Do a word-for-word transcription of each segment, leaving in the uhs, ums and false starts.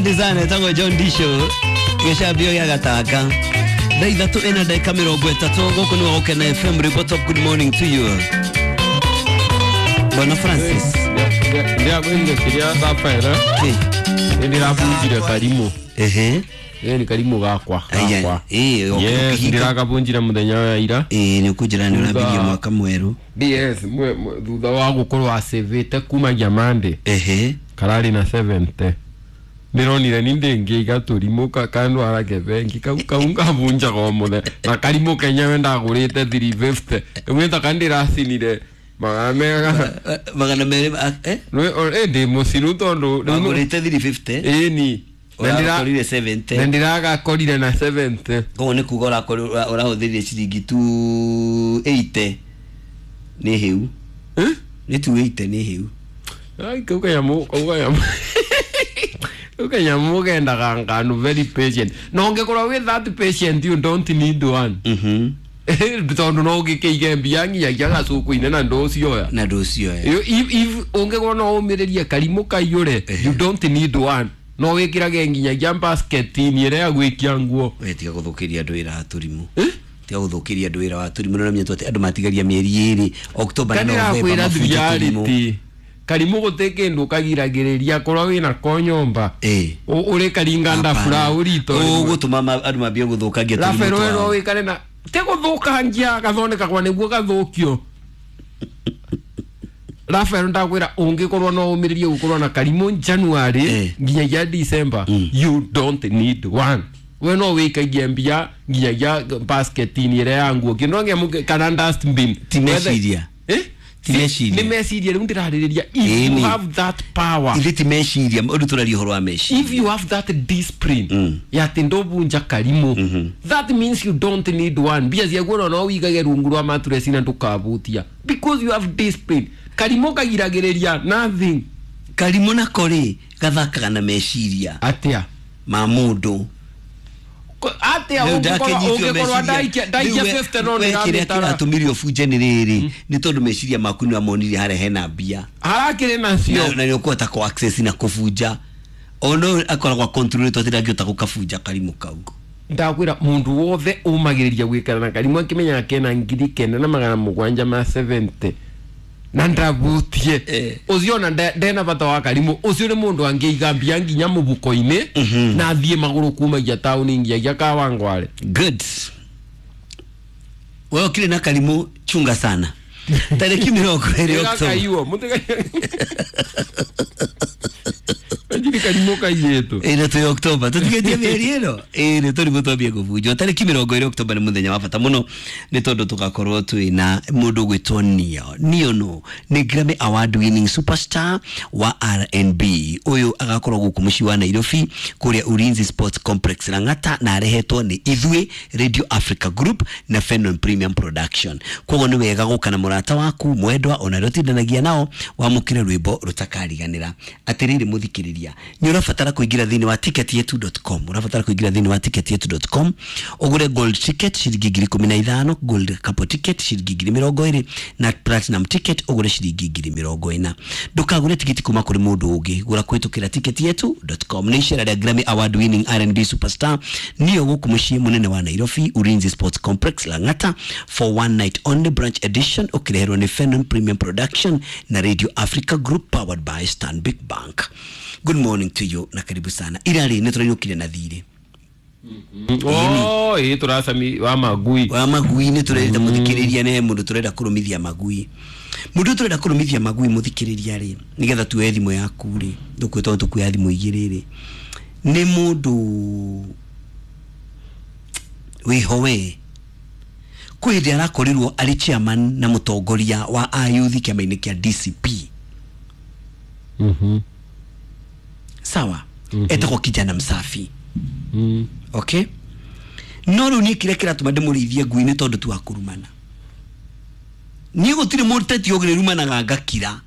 Design etagwo John Disho gĩcambio gĩa gatanga thaa ithatũ ĩna ndagĩka mĩrongo ĩtatũ. Gũkũ nĩ Gũkena F M. Report of good morning to you, Bwana Francis. Ndiakwĩrire kĩrĩa thabaera. Kĩ? Nĩ ndĩrabunjire karimũ. Ehe. Ĩ nĩ karimũ gakwa. Aya, Gakwa. ĩ, Yes, ũkĩhinga- ndĩrakabunjire mũthenya wa ira. Ĩ, nĩ ũkũnjĩra nĩ ũrambirie Thutha- mwaka mwerũ. Yes, mwe- mwe- thutha wa gũkorwo acĩvĩte kumagia Monday. Ehe. Kararĩ na mĩrongo mũgwanja. Ndĩronire ni ndĩngĩiga tũrimũ ka- kandwara ke bengi kau kau ngabunjaga o mũthenya na karimũ kenyewe ndagũrĩte magana matatũ na mĩrongo ĩtano ĩmwe ta ndĩracinire magana mega. Magana merĩ ma- eh? Ĩ ndĩ mũcinu tondũ rĩu nĩ- Wagũrĩte magana matatũ na mĩrongo ĩtano. Ĩni. Na ndĩra- ũrakorire mĩrongo mũgwanja. Na ndĩragakorire na mĩrongo mũgwanja. Koguo nĩ kuga ũrakorwo ũra- ũrahũthĩrire ciringi magana merĩ na mĩrongo ĩnane nĩ hĩu. Eh? Nĩ magana merĩ na mĩrongo ĩnane nĩ hĩu. Ai, kau kanyamũ kau kanyamũ kau kanyamũ kendaga nganu very patient, na ũngĩkorwo wĩ that patient, you don't need one. Mhm. Tondũ no ũngĩkĩige mbia nginyagia gacuku-inĩ na ndũcioya. Na ndũcioya. If if ũngĩkorwo no ũmĩrĩrie karimũ kaiyũre, you don't need one, no wĩkĩrage nginyagia basket-inĩ ĩrĩa ya gwĩkia nguo. We tiga gũthũkĩria andũ wĩra wa tũrimũ. Eh? Tiga gũthũkĩria andũ wĩra wa tũrimũ. Nĩ atĩ andũ matigaria mĩeri ĩrĩ, October na November, Kanĩrakwĩra mabunje tũrimũ. Reality, karimũ gũtĩ kĩndũ kagiragĩrĩria korwo wĩna ko nyũmba. Ĩ. Ũrĩ karinga ndabura ũrito. Ũgũtũma ma- andũ mambie gũthũkangia tũrimũ Rafael, we no twao. wĩkare na te gũthũkangia gathondekagwa nĩguo gathũkio. Rafael, ndakwĩra ũngĩkorwo no ũmĩrĩrie gũkorwo na karimũ January Eh. nginyagia December, you don't need one. We no wĩikagie mbia nginyagia basket-inĩ ĩrĩa ya nguo kĩndũ ngĩamũ kana dustbin. Ti meciria. Eh? Ti meciria. Nĩ meciria rĩu ndĩrarĩrĩria. If Ĩni. you have that power. Ithe ti meciria, ũndũ tũraria ũhoro wa meciria. If you have that discipline Mm. ya atĩ ndũbunja karimũ, that means you don't need one. Mbia ciaku ona no wigage rungu rwa mattress na ndũkabutia because you have discipline. Karimũ kagiragĩrĩria nothing. Karimũ nako rĩ, gathakaga na meciria Atĩa? ma mũndũ. Ko- atĩa? Rĩu Ũngĩkorwo ndakenyitio ũngĩkorwo meciria. ndaikia ndaikia Rĩu we- mĩrongo ĩtano no we kĩrĩa ndĩramĩtara. kĩratũmire ũbunje nĩ rĩrĩ, nĩ tondũ meciria maku nĩ wamonire harĩa hena mbia. Harakĩrĩ nacio. na na nĩ ũkũhota kũ access na kũbunja ono akoragwo control atĩ ndangĩhota gũkabunja karimũ kau. Ndakwĩra mũndũ wothe ũmagĩrĩria gwĩkara na karimũ akĩmenyaga kena ngiri kenda na magana mũgwanja ma mĩrongo mũgwanja na ndabutie, Eh. ũcio ona nde- ndena bata wa karimũ. Ũcio nĩ mũndũ angĩiga mbia nginya mũbuko-inĩ na athiĩ magũrũ kumagia taũni nginyagia Kawangware. Good. Wewe ukile na karimũ, chunga sana. Tarĩki mĩrongo ĩrĩ October. Gakaiwo mũtiga karimũ kaiyĩtwo. Ĩno twĩ October, tũtigĩtie mĩeri ĩno ĩrĩ tũrimũ twambie kũbunjwo. Tarĩki mĩrongo ĩrĩ October nĩ mũthenya wa bata mũno, nĩ tondũ tũgakorwo twĩ na mũndũ ũgwĩtwo Neo. Neo no nĩ Grammy Award winning superstar wa R and B. Ũyũ agakorwo gũkũ mũciĩ wa Nairobi kũrĩa Ulinzi Sports Complex Lang'ata, na arehetwo nĩ ithuĩ Radio Africa Group na Fenon Premium Production. Koguo nĩ wega gũka na mũrata waku mwendwa ona arĩa ũtindanagia nao wamũkĩre rwĩmbo rũtakariganĩra. Atĩrĩrĩ mũthikĩrĩria, nĩ ũrabatara kũingĩra thĩinĩ wa ticketyetu dot com. Ũrabatara kũingĩra thĩinĩ wa ticketyetu dot com ũgũre gold ticket ciringi ngiri ikũmi na ithano, gold couple ticket ciringi ngiri mĩrongo ĩrĩ, na platinum ticket ũgũre ciringi ngiri mĩrongo ĩna. Ndũkagũre tikiti kuma kũrĩ mũndũ ũngĩ, gũra kũhĩtũkĩra ticketyetu dot com. Nĩ icera rĩa Grammy Award winning R and B superstar niyo gũkũ mũciĩ mũnene wa Nairobi, Ulinzi Sports Complex Lang'ata, for one night only, branch edition, ũkĩreherwo nĩ Fenon Premium Production na Radio Africa Group, powered by Stanbic Bank. Good morning to you na karibu sana. Irarĩ nĩ tũrainũkire na thirĩ. Oh, ĩ tũracami wa magui. Wa magui. Nĩ tũrerita mũthikĩrĩria nĩ he mũndũ tũrenda kũrũmithia magui. Mũndũ tũrenda kũrũmithia magui, mũthikĩrĩria rĩ, nĩgetha tuoe thimũ yaku rĩ, tũkwĩtwo tũkuoya thimũ igĩrĩ rĩ, nĩ mũndũ wĩho we kwĩ hĩndĩ arakorirwo arĩ chairman na mũtongoria wa ayuthi kĩama-inĩ kĩa D C P. Mhm. Sawa, etagwo Kijana Msafi. Mm. Okay, no rĩu niĩ kĩrĩa kĩratũma ndĩmũrĩithie ngui nĩ tondũ tu wa kũrumana. Niĩ gũtirĩ mũteti ũngĩrumanaga ngakira.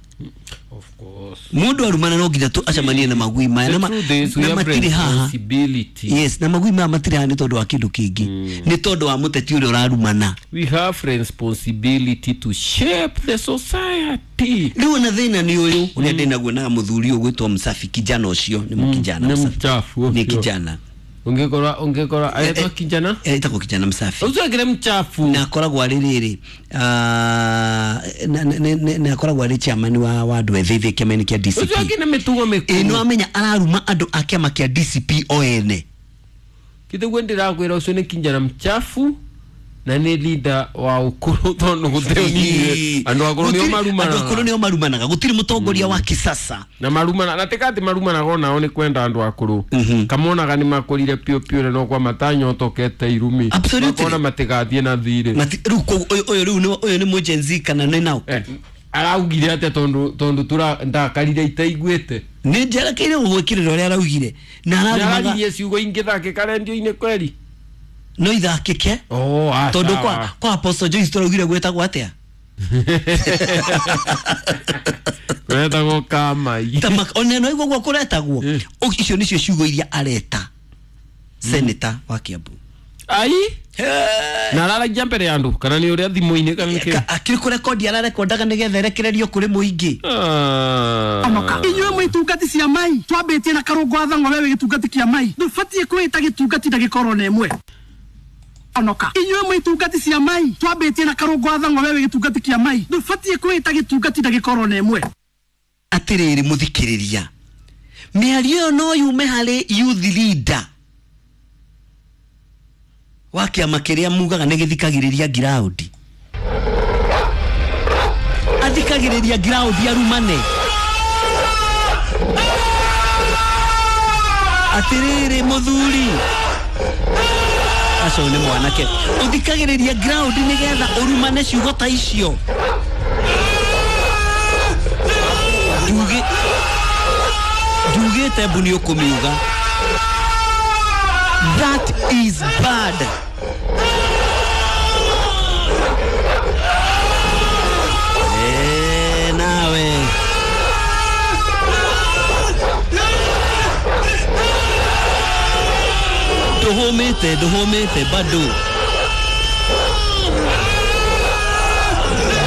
Of course. Mundu arumana no nginya tu acemanie na magui maya na The truth is we na have matirĩ haha. responsibility. Yes, na magui maya matirĩ haha nĩ tondũ wa kĩndũ kĩngĩ, nĩ tondũ wa mũteti ũrĩa ũrarumana. We have responsibility to shape the society. Rĩu ona thĩna nĩ ũyũ ũrĩa ndĩnaguo na mũthuri ũyũ gwĩtwo Msafi, kijana ũcio nĩ mũkijana. Nĩ Msafi. mchafu Nĩ ũcio. kijana. Ungekora ungekora aetwa kijana. Eh, etagwo kijana Msafi. Ucio akire mchafu. Na akoragwo arĩ rĩrĩ, ah, na- na- na- na akoragwo arĩ chairman wa wa andũ ethĩ thĩ kĩama-inĩ kĩa Ucio D C P. akine mitugo Ĩ mikuru. nĩ wamenya araruma andũ a kĩama kĩa D C P o ene. Kithiguo ndirakwira ucio ni kijana mchafu na ni leader wa ukuru tondu gutiri unini andu akuru nio Gũtirĩ- andũ marumanaga. akũrũ nĩo marumanaga, gũtirĩ mũtongoria wa kisasa. Na marumana na tikati marumanaga onao ni kwenda andu akuru kamonaga ni makurire piũ piũ na no kwa matanyotokete irumi. Absolutely. Makona matigathie na thirĩ. Mati- rĩu koguo ũyũ ũyũ rĩu nĩ- ũyũ nĩ mũ Gen Z kana nĩ nao? Eh, araugire atia tondu tondu tura ndakarire itaiguĩte? Nĩ njerekeire gũgwĩkĩrĩra ũrĩa araugire na ararumaga. Nĩararirie ciugo ingĩ thakĩka rendio-inĩ kweri? No ithakĩke. Oh, ah, tondũ sawa. kwa kwa Apostle Joyce tũraugire gwĩtagwo atĩa? Gwetagwo kamai. Ta mak- ona no iguo kũretagwo. Eh. O- icio nĩcio ciugo iria areta senator wa Kiambu. Ai, na araragia mbere ya andũ kana nĩ ũrĩa thimũ-inĩ kana nĩ kĩ? Ka- akĩrĩ kũrekondi ararekondaga nĩgetha erekererio kũrĩ mũingĩ. Ah. Onoka inyuĩ mwĩ itungati cia mai twambĩtie na karũngo athang'o wewe gĩtungati kĩa mai ndũbatiĩ kwĩta gĩtungati ndagĩka oro na ĩmwe. Onoka inyuĩ mwĩ itungati cia mai twambĩtie na karũngo athang'o wewe gĩtungati kĩa mai ndũbatiĩ kwĩta gĩtungati ndagĩka oro na ĩmwe. Atĩrĩrĩ mũthikĩrĩria, mĩario ĩyo no yume harĩ youth leader wa kĩama kĩrĩa mugaga nĩ gĩthikagĩrĩria ngiraũndi, athikagĩrĩria ngiraũndi arumane. Atĩrĩrĩ mũthuri acio nĩ mwanake ũthikagĩrĩria ngiraũndi nĩgetha ũrumane ciugo ta icio. Ndugi ndugĩte mbu nĩ ũkũmiuga. That is bad. Eh, nawe ndũhũmĩte, ndũhũmĩte bado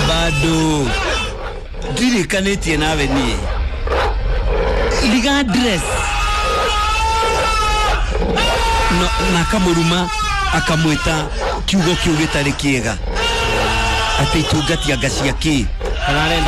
bado ndirĩkanĩtie nawe niĩ regardless. No, na akamũruma akamwĩta kiugo kĩu gĩtarĩ kĩega atĩ itungati anga cia kĩ. Kana arendaga